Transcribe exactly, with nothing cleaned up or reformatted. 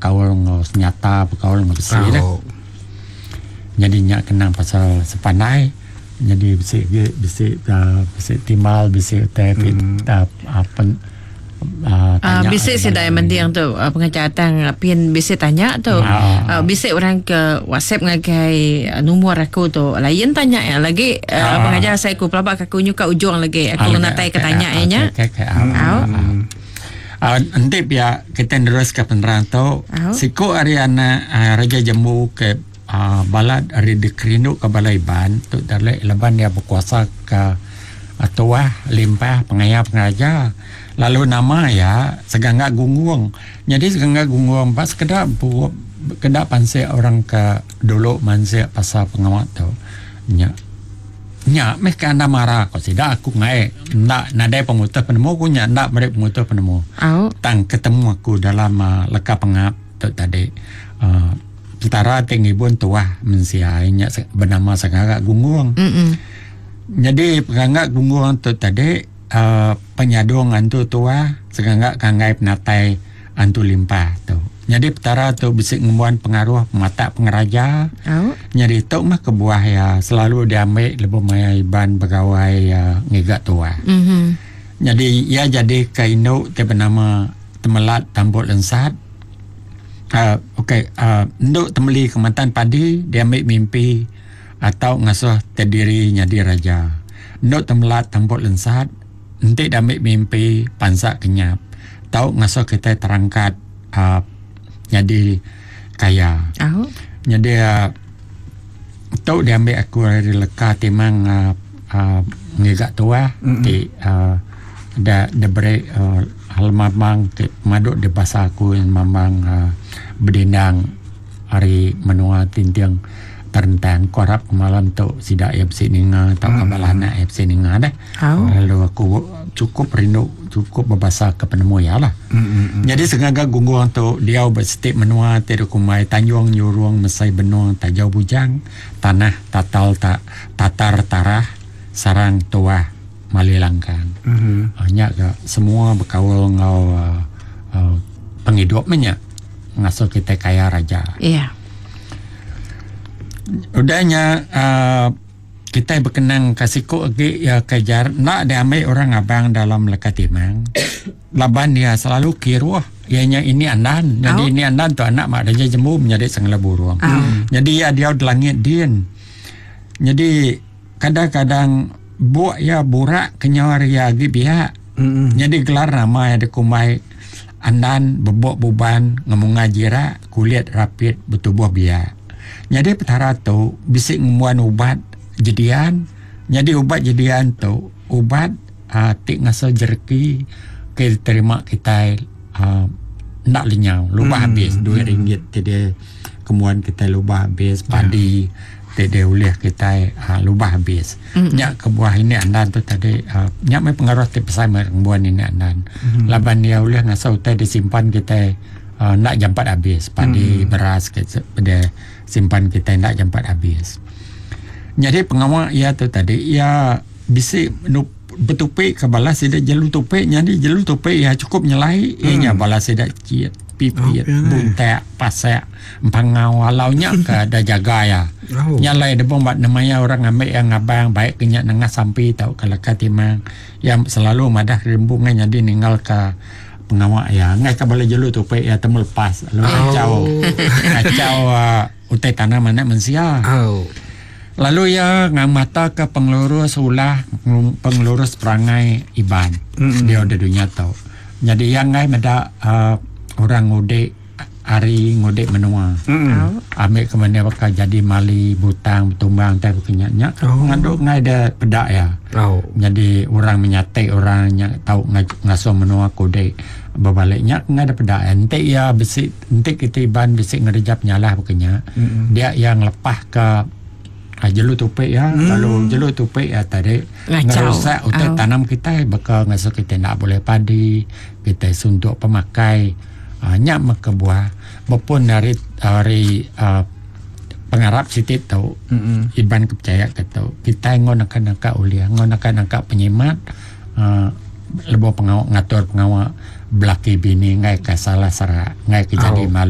bekaul enggau senyata, bekaul enggau besi lah. Oh. Jadi nya kenang pasal sepandai. Jadi bisi bisi uh, bisi timbal, bisi utai mm. uh, uh, pen, uh, Uh, tanya bisi ari sida bala mending tu uh, pengajar tang uh, pin bisi tanya tu. Ah. Uh, bisi orang ke WhatsApp ngagai uh, nombor aku tu. Lain tanya ya lagi uh, Ah. Pengajar saya aku pelabak aku nyuka ujung lagi aku Ah, natai ke okey, tanya okey, ya nya. Okey, okey. Ah, Au. ah. Ah, enti pia kita terus ke penerang tu. Au. Siku ari anak uh, Raja Jembu ke uh, balat ari dikerindu ke balai Iban tu dalek laban dia berkuasa ke uh, tuah limpah pengaya pengeraja. Lalu nama ya Segangga Gunggung. Jadi Segangga Gunggung pas keda bu keda pansik orang ke dulu mansik pasal pengawak tu. Nya nya meh ke anda marah ko sida aku ngai ndak nadai pemutus penemu ku nya ndak beri pemutus penemu. Au. Tang ketemu aku dalam uh, leka pengap tu tadi uh, Petara ti ngibun tuah mensia nya se- bernama Segangga Gunggung. Mm. Jadi Segangga Gunggung tu tadi uh, penyadung antu tuah Segangga kanggai penatai antu limpah tu. Jadi petara tu bisi ngembuan pengaruh mata pengeraja. Au. Jadi tu mah kebuah ya selalu diambil lebuh maya Iban begawai ya, ngiga tuah. Mhm. Jadi ia jadi ke induk ti bernama Temelat Tambuk Lensat. Uh, Okey, uh, induk temeli kemantan padi dia ambil mimpi atau ngasuh terdiri jadi raja. Induk Temelat Tambuk Lensat enti dia ambil mimpi pansak kenyap. Tau ngasuh kita terangkat uh, jadi kaya. Au. Jadi uh, tu dia ambil aku dari leka timang uh, uh, ngiga tuah mm-hmm. ti uh, da da beri uh, hal mamang ti maduk di bahasa aku yang mamang uh, berdindang hari menua tintiang terentang korap malam tu sidak ya besi ninga atau mm. kabal anak ya besi ninga deh. Au. Lalu aku cukup rindu cukup berbahasa ke penemu ya lah. Mm-mm. Jadi sengaja gungguang tu dia bersetip menua ti kumai Tanjung Nyurung Mesai Benung Tajau Bujang tanah tatal tak tatar tarah sarang tuah mali langkang. Mm-hmm. Uh, nya ke semua berkaul ngau uh, uh, penghidup nya ngasuh kita kaya raja. Iya. Udahnya uh, kita berkenang kasih ku lagi ya kejar nak dia ambil orang abang dalam leka timang. Laban dia selalu kiruh ianya ini andan. Jadi Oh. ini andan tu anak mak raja jembu menjadi sengela burung. Oh. Jadi ya dia di langit din. Jadi kadang-kadang buak ya burak kenyawar ya agi pihak. Mm-mm. Jadi gelar nama ya dikumai andan bebok buban ngemunga jirak kulit rapit bertubuh biak. Jadi petara tu bisik ngemuan ubat jedian. Jadi ubat jedian tu ubat uh, tik ngasa jereki ke terima kita uh, nak lenyau lubah Hmm. habis duit ringgit ti dia kemuan kita lubah habis padi ti dia ulih kita uh, lubah habis. Mm. Nyak kebuah ini andan tu tadi uh, nyak mai pengaruh ti besar mai kebuah ini andan. Mm. Laban dia ulih ngasa utai disimpan kita uh, nak jampat habis padi Mm. beras ke dia simpan kita nak jampat habis. Jadi pengawal ia tu tadi ia bisi nu bertupik ke balas sida jelu tupik jadi jelu tupik ia cukup nyelai hmm. Ianya balas sida ciet pipit Oh, pian, eh. buntek pasek empangau alaunya ke ada jaga ya. Oh. Nyalai dia pun buat namanya orang ambil yang abang baik kenyak nengah sampi tau kalau timang yang selalu madah rimbungan jadi ninggal ke pengawak ya ngai ke bala jelu tupik ya temu lepas lalu Oh. kacau kacau uh, utai tanah mana mensia. Oh. Lalu ia ngamata ke pengelurus ulah pengelurus perangai Iban. Mm-mm. Dia ada dunia tau. Jadi yang ngai meda uh, orang ngudek hari ngudek menua. Mm-mm. Au. Ambil ke mana bakal jadi mali butang bertumbang tai berkenyak nyak. Oh. Ngaduk ngai dia pedak ya. Oh. Jadi orang menyatik orang yang tahu ngasuh menua kodek berbaliknya ngai ada pedak. Entik ya besi entik kita Iban besi ngerejap nyalah berkenyak. Mm-mm. Dia yang lepah ke ah, jelu tupik ya. Hmm. Kalau jelu tupik ya tadi Ngacau. ngerusak utai Oh. tanam kita bakal ngasuh kita nak boleh padi, kita suntuk pemakai. Ah, nyak maka buah berpun dari dari uh, pengarap siti tu Mm-mm. Iban kepercaya ke tu kita ngon akan nakak ulia ngon akan nakak penyimat uh, lebih pengawak ngatur pengawak belaki bini ngai ke salah serak ngai ke jadi Oh. mali.